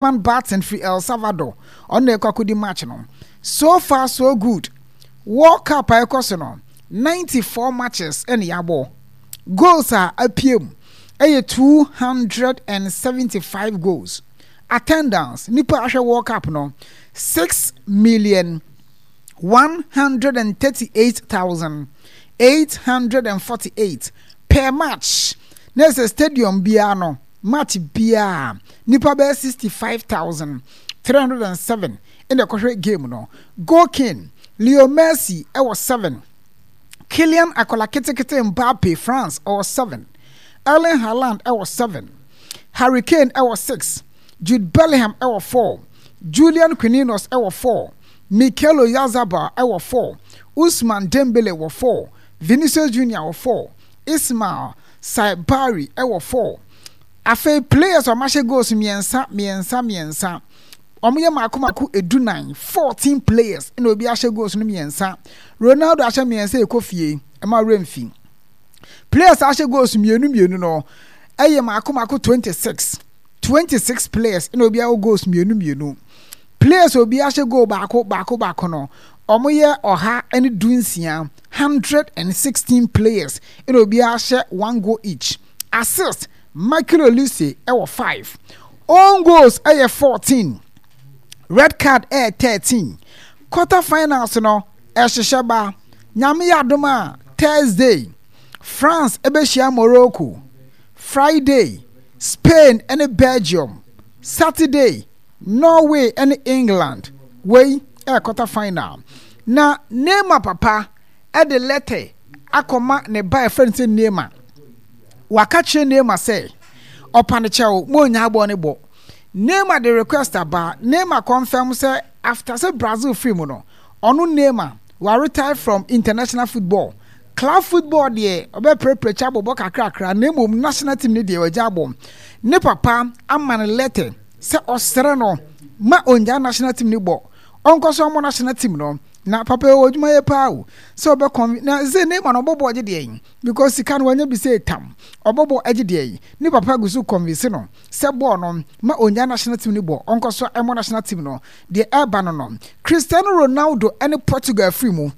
Man Barton firi El Salvador, ɔno na ɛkɔ akɔdi match no. So far so good. World Cup a ɛkɔ so no, 94 matches ɛna yɛabɔ. Goals a apue mu ɛyɛ 275 goals. Attendance, nipa ahwɛ World Cup no, 6,138,848 per match. Na ɛsɛ stadium biara no, Match biara, nnipa bɛyɛ 65,307 na ɛkɔhwɛ game no. Goal king, Leo Messi wɔ 7, Kylian Akwadaa Ketekete Mbappe, France, ɔwɔ 7, Erling Haaland wɔ 7, Harry Kane wɔ 6, Jude Bellingham wɔ 4, Julian Quininos wɔ 4, Mikel Oyarzabal wɔ 4, Ousmane Dembele wɔ 4, Vinicius Junior wɔ 4, Ismail Saibari wɔ 4. Afei players a wɔahyɛ goals mmiɛnsa mmiɛnsa mmiɛnsa. Wɔyɛ mako mako edunan, 14 players na obi ahyɛ goals no mmiɛnsa. Ronaldo ahyɛ mmiɛnsa ɛkɔ fie, ɛma werɛ mfi. Players a ahyɛ goals mmienu mmienu no ɛyɛ mako mako 26. 26 players na obi awɔ goals mmienu mmienu. Players a obi ahyɛ goal baako baako baako no, wɔyɛ 116, 116 players na obi ahyɛ one goal each. Assist, Michael Olise wɔ 5. Own goals yɛ 14. Red card yɛ 13. Quarter finals no, ɛhyehyɛ ba. Nyame yɛ adom a, Thursday, France bɛhyia Morocco. Friday, Spain ne Belgium. Saturday, Norway ne England, wei yɛ quarter final. Na Neymar papa de lɛtɛ akɔma ne ba a yɛfrɛ no sɛ Neymar. Waka kyerɛ Neymar sɛ ɔpa no kyɛw ma ɔnyaa bɔɔl no bɔ. Neymar de request aba, Neymar confirm sɛ after sɛ Brazil firi mu no, ɔno Neymar wa retire from international football. Club football deɛ ɔbɛprɛprɛ kyɛ abɔbɔ kakrakra na mmom national team no deɛ wagya abɔ. Ne papa ama no lɛtɛ sɛ ɔsrɛ no ma ɔngyae national team no bɔ, ɔnkɔ so mmɔ national team no. Na papa yi ɔwɔ adwuma yɛ paa o, sɛ ɔbɛ conv na sɛ Neymar no ɔbɔ bɔɔl gye deɛn because sika no wanya bi sɛ tam, ɔbɔ bɔɔl gye deɛn. Ne papa gu so convince no sɛ bɔɔl no ma ɔngyae national team no bɔ, ɔnkɔ so mmɔ national team no. Deɛ ɛreba no no, Cristiano Ronaldo ne Portugal afiri mu.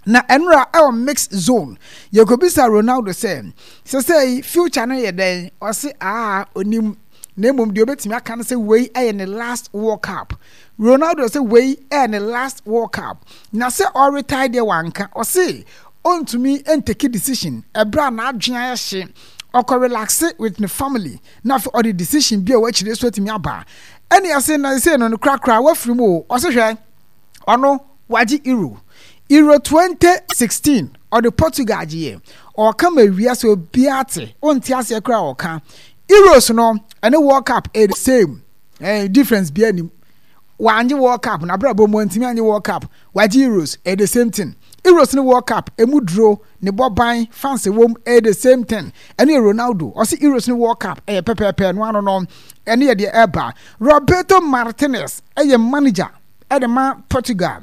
Na ɛnora ɛwɔ mix zone yɛkɔbisa Ronaldo sɛ sɛsɛi future no yɛ dɛn, ɔse aa onim na mmom deɛ obɛtumi aka no sɛ wei ɛyɛ ne last World Cup. Ronaldo sɛ wei ɛyɛ ne last World Cup na sɛ ɔretae deɛ wanka, ɔse ɔntumi ntake decision ɛberɛ a n'adwene ayɛ hye, ɔkɔ relaxe with ne family na afei ɔde decision bi a ɛwɔ akyire so atumi aba. Ɛne ɛse na sɛsɛi no no korakora wafiri mu o, ɔse hwɛ ɔno Wagye Euro. Euro 2016, ɔde Portugal gyeeɛ. Ɔɔka ma wiase obiara te, wonte aseɛ koraa a ɔɔka. Euros no, ɛne World Cup ɛyɛ the same. Eh, difference biara nnim. Wangye World Cup, n'abrabɔ mu wantumi angye World Cup. Wagye Euros, ɛyɛ the same thing. Euros ne World Cup, emu duro, ne bɔ ban, fans ɛwɔ mu, ɛyɛ the same thing. Ɛno yɛ Ronaldo. Ɔse Euros ne World Cup, ɛyɛ pɛpɛɛpɛ, ɛno ano no, ɛno yɛ deɛ ɛreba. Roberto Martinez ɛyɛ manager. de ma Portugal.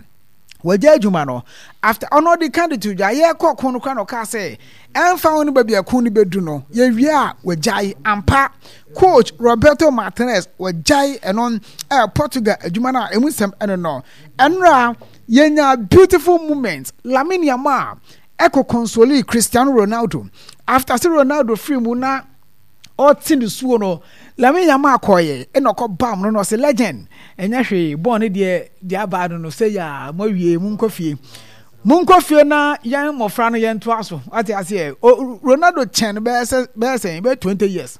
Wagya adwuma no after ɔno ɔde ka de to dwa yɛkɔ ko no kora na ɔkaa sɛ ɛmfa ho no baabi a ko no bɛdu no yɛwie a wagyae ampa. Coach Roberto Martinez wagyae ɛno ɛɛ Portugal adwuma no a ɛmu nsɛm ɛno no. Ɛnora yɛnya beautiful moment Lamine Yamal ɛkɔ console Cristiano Ronaldo after sɛ Ronaldo firi mu na ɔte ne suo no Lamine Yamal kɔɔyɛ ɛna ɔkɔ bam no na ɔsɛ legend ɛnyɛ hwee bɔɔl no deɛ deɛ abaa no no sɛ yaa mo awie mo nkɔ fie mo nkɔ fie na yɛn mmɔfra no yɛn toa so ate aseɛ Ronaldo kyɛn no bɛyɛ sɛ bɛyɛ sɛ bɛyɛ 20 years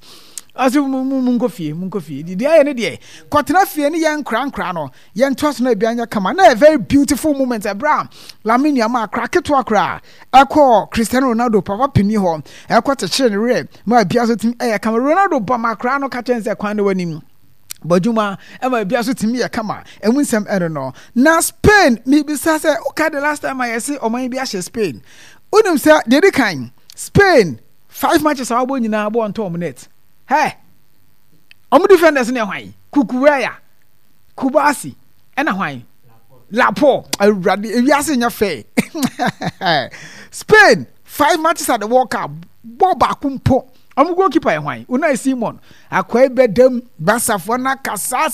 ɔsɛ mo mo mo nkɔ fie mo nkɔ fie deɛ ayɛ no deɛ kɔtena fie ne yɛn nkora nkora no yɛn toa so na ebi anyɛ kama na yɛ very beautiful moment ɛbrɛ a Lamine Yamal akora ketewa koraa ɛkɔɔ Cristiano Ronaldo papa panin hɔ ɛkɔ kyekyere ne werɛ ma bia so tumi ɛyɛ kama. Ronaldo bɔ ma akora no ka kyerɛ sɛ kwan no w'anim bɔ adwuma ɛma bia so tumi yɛ kama. Ɛmu nsɛm ɛno no. Na Spain mebisa sɛ woka the last time a yɛse ɔman bi ahyɛ Spain, wonim sɛ deɛ di kan Spain five matches a wɔabɔ nyinaa bɔ ntɔ wɔn net. Hɛ! Wɔn defenders ne hwan? Cucurella, Kubasi, ɛna hwan? Lapo, awurade, ewiase nyɛ fɛ. Spain, five matches at the World Cup, bɔɔl baako mpo, Ɔmo goalkeeper yɛ hwan? Unai Simon. Akwai bɛdam, Barcafoɔ no akasa.